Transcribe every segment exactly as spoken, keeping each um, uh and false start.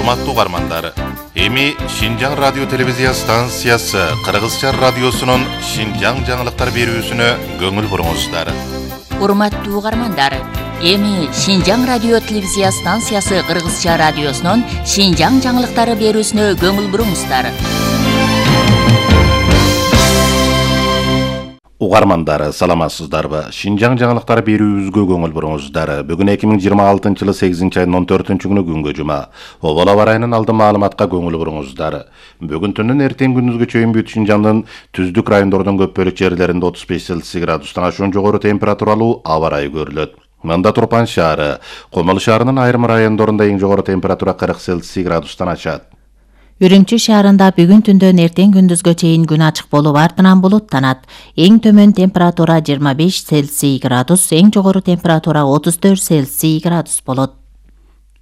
Урматтуу угармандар, эми Шинжаң радио телевизия станциясы Кыргызча радиосунун Шинжаң жаңылыктар берүүсүнө көңүл буруңуздар. Урматтуу угармандар, эми Шинжаң радио телевизия станциясы Кыргызча радиосунун Шинжаң жаңылыктары берүүсүнө көңүл буруңуздар. Угармандар, саламатсыздарбы? Шинжаң жаңылыктары берүүбүзгө көңүл буруңуздар. Бүгүн эки миң жыйырма алтынчы жылы сегизинчи айдын он төртүнчү күнү күнгө жума. Обол аба ырайынын алдын маалыматка көңүл буруңуздар. Бүгүн түнүн эртең күндүзгө чейин бүт Шинжаңдын түздүк райондордун көп бөлүк жерлеринде отуз беш Цельсий градустан ашуун жогору температуралуу аба ырайы көрүлөт. Мында Турпан шаары, Комол шаарынын айрым райондорунда эң жогору температура кырк Цельсий градустан ашат. Үрүмчү шаарында бүгүн түндөн эртең күндүзгө чейин күн ачык болуп, артынан булуттанат. Эң төмөн температура жыйырма беш Цельсий градус, эң жогору температура отуз төрт Цельсий градус болот.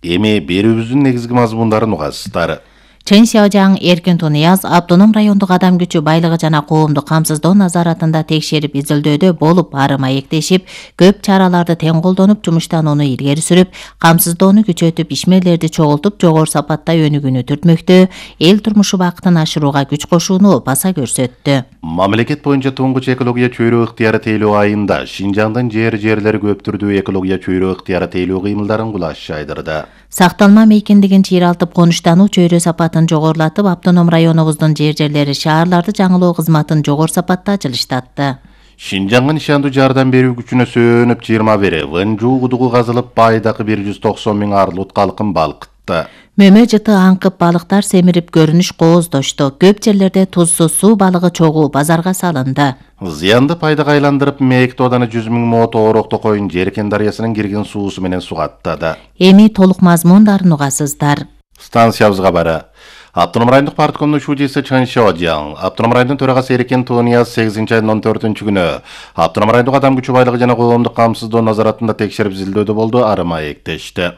Эми берүүбүздүн негизги мазмундарын угасыздар. Чын Шыжаң Эркин Тунияз автоном райондук адам күчү байлыгы жана коомдук камсыздоо назаратында текшерип изилдөөдө болуп, ары маектешип, көп чараларды тең колдонуп, жумуштанууну илгери сүрүп, камсыздоону күчөтүп, ишмерлерди чогултуп, жогору сапатта өнүгүүнү түртмөктө, эл турмушу бакытын ашырууга күч кошууну баса көрсөттү. Мамлекет боюнча туңгуч экология чөйрө ыктыяры тейлөө айында Шинжаңдын жер-жерлери көп түрдүү экология чөйрө ыктыяры тейлөө кыймылдарын кулаш жайдырды. Сакталма мейкиндигин чыйралтып, конуштануу чөйрө сапатын жогорулатып, автоном районубуздун жер-жерлери шаарларды жаңылоо кызматын жогору сапатта жылыштатты. Шинжаңга нишандуу жардам берүү күчүнө сөөнүп жыйырма бир Вынжуу кудугу казылып, байдакы бир жүз токсон миң арлут калкын балкытты. Мөмө жыты аңкып, балыктар семирип көрүнүш кооздошту. Көп жерлерде тузсуз суу балыгы чогуу базарга салынды. Зыянды пайдага айландырып, мээк тооданы жүз миң мо тоорокто коюн Жеркен дарыясынын кирген суусу менен сугаттады. Эми толук мазмундарын угасыздар. Станциябызга бары. Автоном райондук парткомдун шуудиси Чын Шыжаң, автоном райондун төрагасы Эркин Тунияз сегизинчи айдын он төртүнчү күнү автоном райондук адам күчү байлыгы жана коомдук камсыздоо назаратында текшерип изилдөөдө болду, ары маектешти.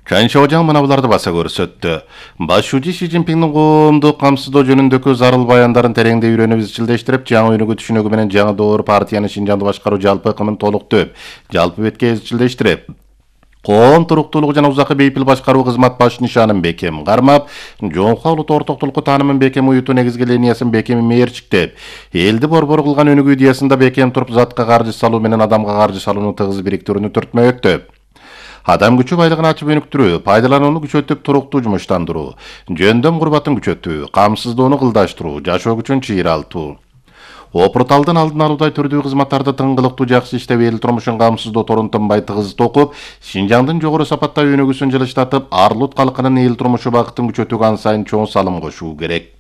Чын Шыжаң мына буларды баса көрсөттү. Баш шууди Си Цзиньпиндин коомдук камсыздоо жөнүндөгү зарыл баяндарын тереңдей үйрөнүп изчилдештирип, жаңы өнүгүү түшүнүгү менен жаңы доор партиянын Шинжаңды башкаруу жалпы ыкымын толуктуп, жалпы бетке изчилдештирип, коом туруктуулугу жана узакы бейпил башкаруу кызмат баш нишанын бекем кармап, жоңкуга улут ортоктулукку таанымын бекем уютуу негизги линиясын бекем мээрчиктеп, элди борбор кылган өнүгүү идеясында бекем туруп, затка каржы салуу менен адамга каржы салууну тыгыз бириктирүүнү түртмөктөп, адам күчү байлыгын ачып өнүктүрүү, пайдаланууну күчөтүп, туруктуу жумуштандыруу, жөндөм курбатын күчөтүү, камсыздоону кылдаштыруу, жашоо күчүн чыйралтуу, опурталдын алдын алуудай түрдүү кызматтарды тыңгылыктуу жакшы иштеп, эл турмушун камсыздоо торун тынбай тыгыз токуп, Шинжаңдын жогору сапатта өнүгүүсүн жылыштатып, арлут калкынын эл турмушу бакытын күчөтүүгө ан сайын чоң салым кошуу керек.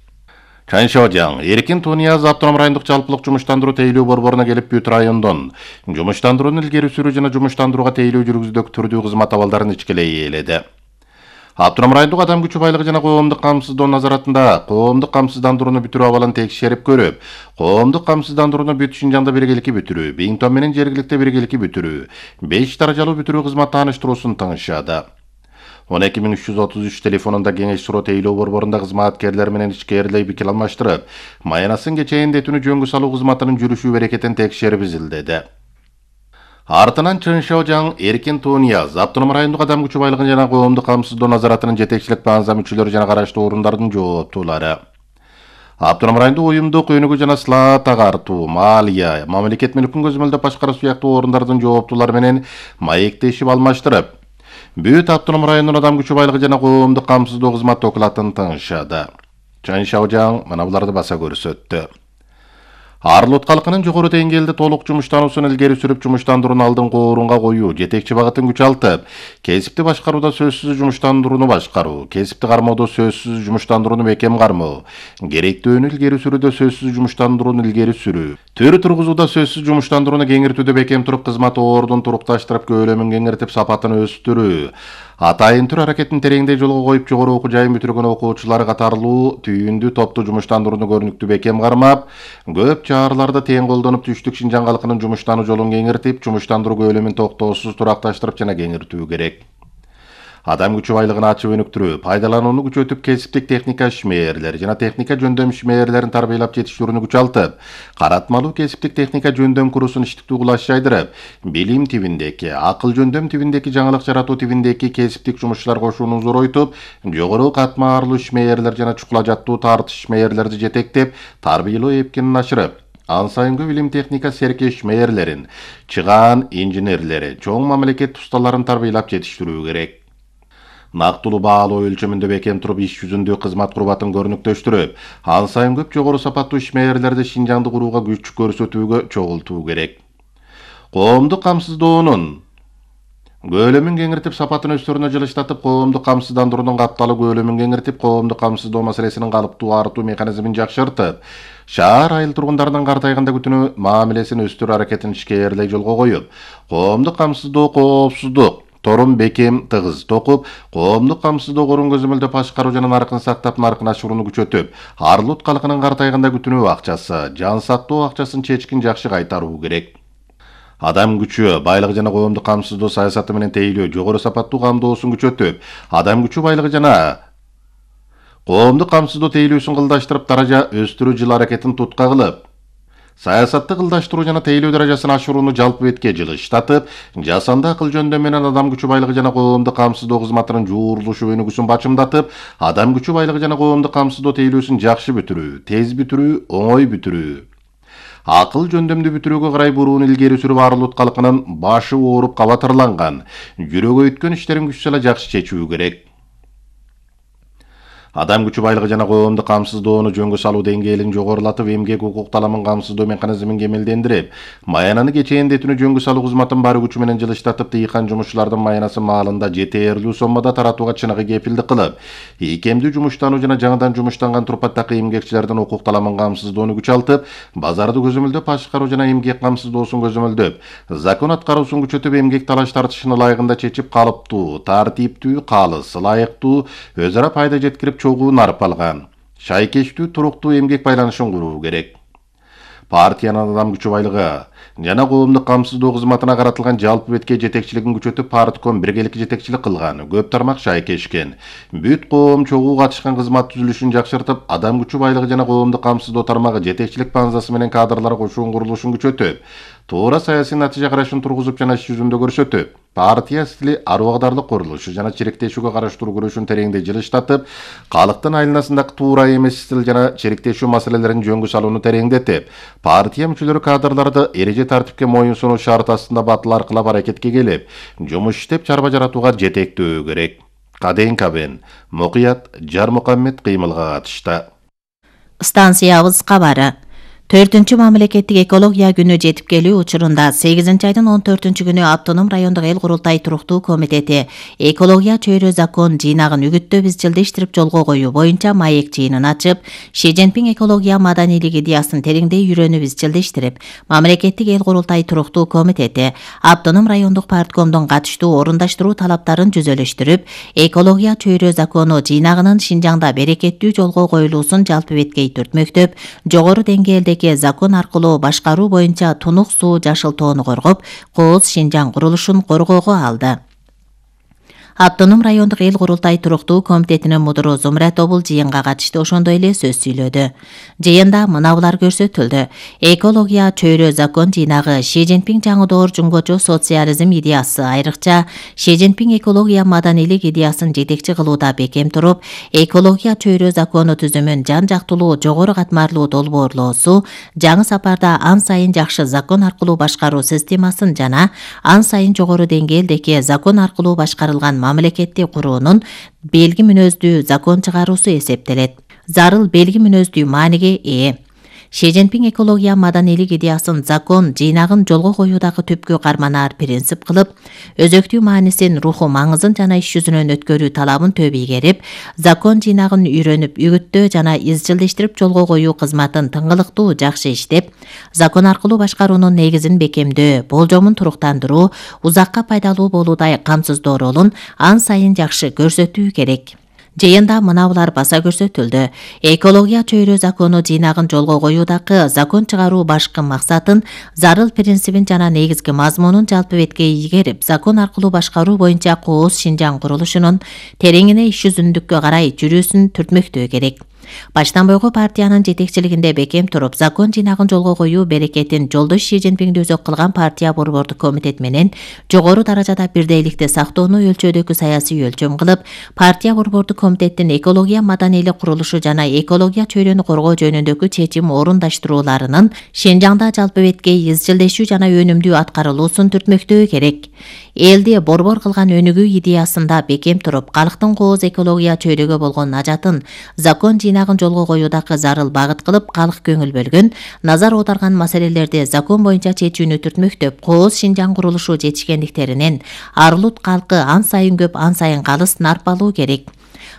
Чын Шыжаң Эркин Тунияз автоном райондук жалпылык жумуштандыруу тейлөө борборуна келип, бүт райондон жумуштандырууну илгери сүрүү жана жумуштандырууга тейлөө жүргүзүүдөгү түрдүү кызмат абалдарын ичкелей ээледи. Автоном райондук адам күчү байлыгы жана коомдук камсыздоо назаратында коомдук камсыздандырууну бүтүрүү абалын текшерип көрүп, коомдук камсыздандырууну бүт Шинжаңда биргеликти бүтүрүү, Биңтон менен жергиликти биргеликти бүтүрүү, беш даражалуу бүтүрүү кызмат тааныштыруусун тыңышады. он эки миң үч жүз отуз үч телефонунда кеңеш суроо тейлөө борборунда кызматкерлер менен ичкерилей пикир алмаштырып, майанасын кечээндетүүнү жөнгө салуу кызматынын жүрүшү берекетин текшерип изилдеди. Артынан Чын Шыжаң Эркин Тунияз автоном райондук адам күчү байлыгын жана коомдук камсыздоо назаратынын жетекчилик баанза мүчөлөрү жана караштуу орундардын жооптуулары, автоном райондук уюмдук өнүгүү жана сылаат агартуу, маалия, мамлекет мүлкүн көзөмөлдөп башкаруу сыяктуу орундардын жооптуулары менен маектешип алмаштырып, бүт автоном райондун адам күчү байлыгы жана коомдук камсыздоо кызмат окулатын тыңышады. Чын Шыжаң мына буларды баса көрсөттү. Арлут калкынын жогору деңгээлде толук жумуштануусун илгери сүрүп, жумуштандырууну алдыңкы орунга коюу, жетекчи багытын күчалтып, кесипти башкарууда сөзсүз жумуштандырууну башкаруу, кесипти кармоодо сөзсүз жумуштандырууну бекем кармоо, керектөөнү илгери сүрүүдө сөзсүз жумуштандырууну илгери сүрүү, төр тургузууда сөзсүз жумуштандырууну кеңиртүүдө бекем туруп, кызмат ордун турукташтырып, көлөмүн кеңиртип, сапатын өстүрүү, атайын түр аракетин тереңдей жолго коюп, жогору окуу жайын бүтүргөн окуучулар катарлуу түйүндүү топту жумуштандырууну көрүнүктүү бекем кармап, көп чараларды тең колдонуп, түштүк Шинжаң калкынын жумуштануу жолун кеңиртип, жумуштандыруу көлөмүн токтоосуз туракташтырып жана кеңиртүү керек. адам күчү байлыгын ачып өнүктүрүү, пайдаланууну күчөтүп, кесиптик техника ишмээрлери жана техника жөндөм ишмээрлерин тарбиялап жетиштирүүнү күчалтып, каратмалуу кесиптик техника жөндөм курусун иштиктүү кылаш жайдырып, билим тибиндеки, акыл жөндөм тибиндеки, жаңылык жаратуу тибиндеки кесиптик жумушчулар кошууну зоройтуп, жогору катмарлуу ишмээрлер жана чукула жаттуу тартыш ишмээрлерди жетектеп, тарбиялоо эпкинин ашырып, ан сайынкы билим техника серке ишмээрлерин, чыгаан инженерлери, чоң мамлекет усталарын тарбиялап жетиштирүү керек. Нактылуу баалоо өлчөмүндө бекем туруп, иш жүзүндө кызмат курбатын көрүнүктөштүрүп, ан сайын көп жогору сапаттуу ишмээрлерди Шинжаңды курууга күч көрсөтүүгө чогултуу керек. Коомдук камсыздоонун көлөмүн кеңиртип, сапатын өстөрүнө жылыштатып, коомдук камсыздандыруунун капталуу көлөмүн кеңиртип, коомдук камсыздоо маселесинин калыптуу артуу механизмин жакшыртып, шаар айыл тургундарынын картайганда күтүүнү мамилесин өстүрүү аракетин ишкерлей жолго коюп, коомдук камсыздоо коопсуздук торун бекем тыгыз токуп, коомдук камсыздоо корун көзөмөлдөп башкаруу жана наркын сактап, наркын ашырууну күчөтүп, арлут калкынын картайганда күтүүнү акчасы, жан сактоо акчасын чечкин жакшы кайтаруу керек. Адам күчү, байлыгы жана коомдук камсыздоо саясаты менен тейлөө, жогору сапаттуу камдоосун күчөтүп, адам күчү, байлыгы жана коомдук камсыздоо тейлөөсүн кылдаштырып, даража өстүрүү жыл аракетин тутка кылып, саясатты кылдаштыруу жана тейлөө даражасын ашырууну жалпы бетке жылыштатып, жасанды акыл жөндөм менен адам күчү, байлыгы жана коомдук камсыздоо кызматынын жуурулушу өнүгүүсүн бачымдатып, адам күчү, байлыгы жана коомдук камсыздоо тейлөөсүн жакшы бүтүрүү, тез бүтүрүү, оңой бүтүрүү, акыл жөндөмдүү бүтүрүүгө карай буруун илгери сүрүп, арлут калкынын башы ооруп, кабатырланган, жүрөгү өткөн иштерин күч сала жакшы чечүү керек. Адам күчү, байлыгы жана коомдук камсыздоону жөнгө салуу деңгээлин жогорулатып, эмгек укук таламын камсыздоо механизмин кемелдендирип, маянаны кечээндетүүнү жөнгө салуу кызматын бар күчү менен жылыштатып, тыйкан жумушчулардын маянасы маалында жетээрлүү соммада таратууга чыныгы кепилдик кылып, ийкемдүү жумуштануу жана жаңыдан жумуштанган турпаттагы эмгекчилердин укук таламын камсыздоону күчалтып, базарды көзөмөлдөп башкаруу жана эмгек камсыздоосун көзөмөлдөп, закон аткаруусун күчөтүп, эмгек талаш тартышын ылайыгында чечип, калыптуу, тартиптүү, калыс, ылайыктуу, өз ара пайда жеткирип, чогуу нарп алган, шайкечтүү, туруктуу эмгек байланышын куруу керек. Партиянын адам күчү, байлыгы жана коомдук камсыздоо кызматына каратылган жалпы бетке жетекчилигин күчөтүп, партком биргеликке жетекчилик кылган, көп тармак шайкешкен, бүт коом чогуу катышкан кызмат түзүлүшүн жакшыртып, адам күчү, байлыгы жана коомдук камсыздоо тармагы жетекчилик базасы менен кадрлар кошуун курулушун күчөтүп, туура саясий натыйжа карашын тургузуп жана иш жүзүндө көрсөтүп, партия стили ару агдарлык курулушу жана чириктешүүгө караштыруу күрөшүн тереңдей жылыштатып, калктын айланасындагы туура эмес стил жана чириктешүү маселелерин жөнгө салууну тереңдетип, партия мүчөлөрү кадрларды эреже тартипке моюн сунуу шарт астында батыл аркылап аракетке келип, жумуш иштеп, чарба жаратууга жетектөө керек. Каден Кабен, Мукуят Жармукаммет кыймылга катышты. Станциябыз кабары. төртүнчү мамлекеттик экология күнү жетип келүү учурунда сегизинчи айдын он төртүнчү күнү Автоном райондук эл курултай туруктуу комитети экология чөйрө закон жыйнагын үгүттөп изчилдештирип жолго коюу боюнча маек жыйынын ачып, Ши Цзиньпин экология маданийлик идеясын тереңдей үйрөнүп изчилдештирип, мамлекеттик эл курултай туруктуу комитети Автоном райондук парткомдун катыштуу орундаштыруу талаптарын жүзөлөштүрүп, экология чөйрө закону жыйнагынын Шинжаңда берекеттүү жолго коюлуусун жалпы беткей түртмөктөп, жогору деңгээлдеги закон аркылуу башкаруу боюнча тунук суу жашылтоону коргоп, Кооз Шинжаң курулушун коргоого алды. Автоном райондук эл курултай туруктуу комитетинин мудуру Зумрат Обул жыйынга катышты, ошондой эле сөз сүйлөдү. Жыйында мынабулар көрсөтүлдү. Экология чөйрө закон жыйнагы Ши Цзиньпин жаңы доор жумгочу социализм идеясы, айрыкча Ши Цзиньпин экология маданийлик идеясын жетекчи кылууда бекем туруп, экология чөйрө закону түзүмүн жан жактылуу, жогору катмарлуу долбоорлоосу, жаңы сапарда ан сайын жакшы закон аркылуу башкаруу системасын жана ан сайын жогору деңгээлдеги закон аркылуу башкарылган мамлекеттик куруунун белги мүнөздүү закон чыгаруусу эсептелет. Зарыл белги мүнөздүү мааниге ээ. Ши Цзиньпин экология маданийлик идеясын закон жыйнагын жолго коюудагы түпкү карманаар принцип кылып, өзөктүү маанисин, руху маңызын жана иш жүзүнөн өткөрүү талабын төб ийгерип, закон жыйнагын үйрөнүп, үгүттөө жана изчилдештирип жолго коюу кызматын тыңгылыктуу жакшы иштеп, закон аркылуу башкаруунун негизин бекемдөө, болжомун туруктандыруу, узакка пайдалуу болуудай камсыздоо ролун ан сайын жакшы көрсөтүү керек. Жыйында мынабулар баса көрсөтүлдү. Экология чөйрө закону жыйнагын жолго коюудагы закон чыгаруу башкы максатын, зарыл принцибин жана негизги мазмунун жалпы бетке ийгерип, закон аркылуу башкаруу боюнча кооз Шинжаң курулушунун тереңине иш жүзүндүккө карай жүрүүсүн түртмөктөө керек. Баштан бойгу партиянын жетекчилигинде бекем туруп, закон жыйнагын жолго коюу берекетин жолдош Ши Цзиньпиңди өзөк кылган партия борбордук комитет менен жогору даражада бирдейликти сактоону өлчөөдөгү саясий өлчөм кылып, партия борбордук комитеттин экология маданийлик курулушу жана экология чөйрөнү коргоо жөнүндөгү чечим орундаштырууларынын Шинжаңда жалпы бетке изчилдешүү жана өнүмдүү аткарылуусун түртмөктөө керек. Элди борбор кылган өнүгүү идеясында бекем туруп, калктын кооз экология чөйрөгө болгон ажатын закон жыйнагын жолго коюудагы зарыл багыт кылып, калк көңүл бөлгөн, назар аударган маселелерди закон боюнча чечүүнү түртмөктөп, кооз Шинжаң курулушу жетишкендиктеринен Арлут калкы ан сайын көп, ан сайын калыс нарпалуу керек.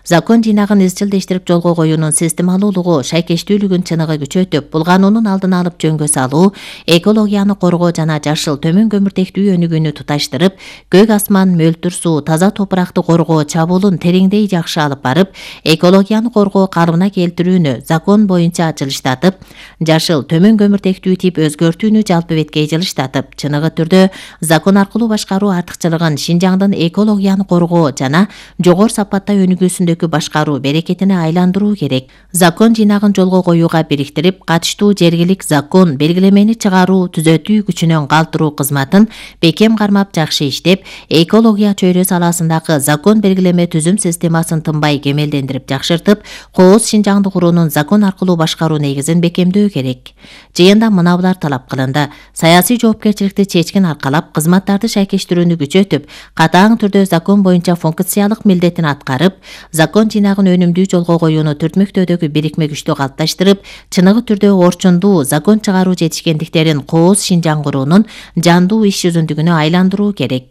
Закон жыйнагын изчилдештирип жолго коюунун системалуулугу, шайкештүүлүгүн чыныгы күчөтүп, булгануунун алдын алып жөнгө салуу, экологияны коргоо жана жашыл төмөн көмүртектүү өнүгүүнү туташтырып, көк асман, мөлтүр суу, таза топуракты коргоо чабуулун тереңдей жакшы алып барып, экологияны коргоо калыбына келтирүүнү закон боюнча жылыштатып, жашыл төмөн көмүртектүү тип өзгөртүүнү жалпы бетке жылыштатып, чыныгы түрдө закон аркылуу башкаруу артыкчылыгын Шинжаңдын экологияны коргоо жана жогору сапатта өнүгүүсүндө башкаруу берекетине айландыруу керек. Закон жыйнагын жолго коюуга бириктирип, катыштуу жергилик закон белгилемени чыгаруу, түзөтүү күчүнөн калтыруу кызматын бекем кармап жакшы иштеп, экология чөйрө саласындагы закон белгилеме түзүм системасын тынбай кемелдендирип жакшыртып, кооз Шинжаңды куруунун закон аркылуу башкаруу негизин бекемдөө керек. Жыйында мынабулар талап кылынды. Саясий жоопкерчиликти чечкин аркалап, кызматтарды шайкештирүүнү күчөтүп, катаң түрдө закон боюнча функциялык милдетин аткарып, закон жыйнагын өнүмдүү жолго коюуну түртмөктөөдөгү бирикме күчтү калыпташтырып, чыныгы түрдө орчундуу закон чыгаруу жетишкендиктерин кооз Шинжаң куруунун жандуу иш жүзүндүгүнө айландыруу керек.